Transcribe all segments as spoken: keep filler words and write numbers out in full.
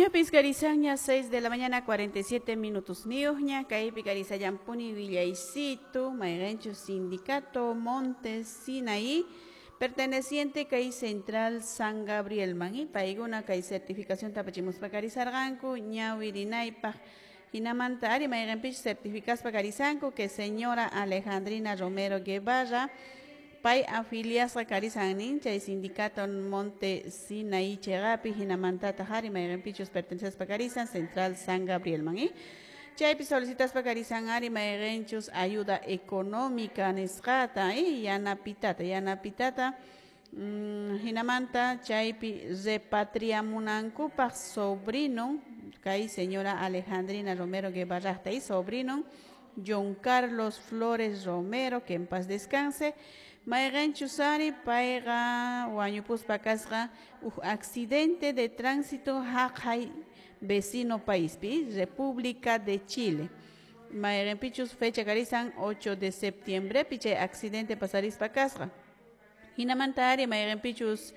Ñapis karisanña seis de la mañana cuarenta y siete minutos niyuqña kaypi karisallampuni willaysitu mayqinchus sindicato Monte Sinaí perteneciente kay Central San Gabriel man y paykuna kay certificación tapachimuspa karisarqanku ñawirinaypaq hinamanta ari mayqinpichus certificaspa karisanku que señora Alejandrina Romero Guevara pay afiliasqa karisan nin chay sindicato Monte Sinaí chayqapi hinamantataq ari mayqinpichus pertenecespa karisan Central San Gabriel man y chaypi solicitaspa karisan ari mayqinchus ayuda económica nisqata y yanapitata yanapitata mm, hinamanta chaypi repatriamunankupaq sobrino kay señora Alejandrina Romero Guevarraqta y sobrino John Carlos Flores Romero, que en paz descanse, mayqinchus ari payqa wañupuspa kasqa huk accidente de tránsito haqhay vecino paispi República de Chile. Mayqinpichus fecha karisan ocho de septiembre chay accidente pasarispa kasqa. Hinamanta ari mayqinpichus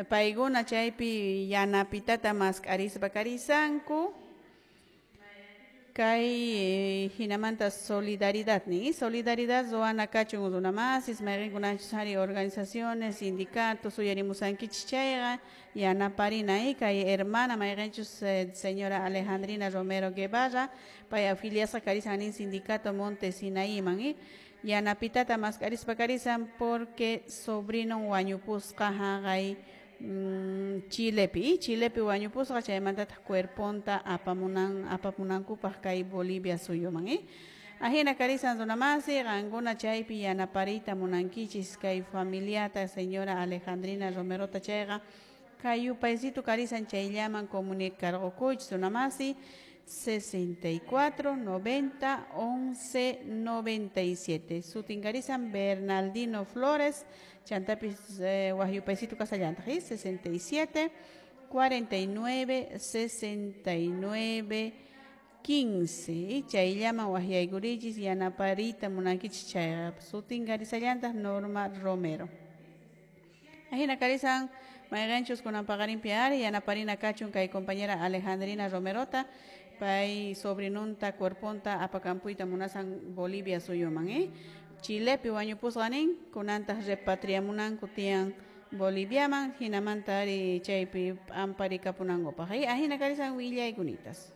paykuna chaypi yanapitata mask'arispa karisanku kay hinamanta solidaridad ni solidaridad ruwana kachun runamasis mayqinkunachus ari organizaciones sindicatos uyarimusankichis chayqa yanaparina kay hermana mayqinchus eh, señora Alejandrina Romero Guevara pay afiliasqa karisan nin sindicato Monte Sinaíman y yanapitata mask'arispa karisan porque sobrino wañupusqa haqay Mm, Chilepi, Chilepi wañupusqa chaymantataq cuerponta apamunan apamunankupaq kay Bolivia suyuman eh? Ajina karisan runamasi qankuna chaypi yanapariyta munankichis kay familiata señora Alejandrina Romerota chayqa kay yupaysitu karisan chayllaman comunicarqukuychis runamasi sesenta y cuatro, noventa, once, noventa y siete. Sutin karisan Bernaldino Flores, chantapis eh, wahyupaysito kasallantaq, ¿eh? sesenta y siete, cuarenta y nueve, sesenta y nueve, quince. Chayllaman wahyaykuriychis yanapariyta munankichis chayqa. Sutin karisallantaq Norma Romero. Ajina karisan mayqinchus kunan paqarinpi ari yanaparina kachun kay compañera Alejandrina Romerota pay sobrinunta cuerponta apakampuyta munasan Bolivia suyuman eh? Chilepi wañupusqa nin kunantaq repatriamunanku tiyan Boliviaman hinamanta ari chaypi p'amparikapunankupaq eh? Ajina karisan willaykunitas.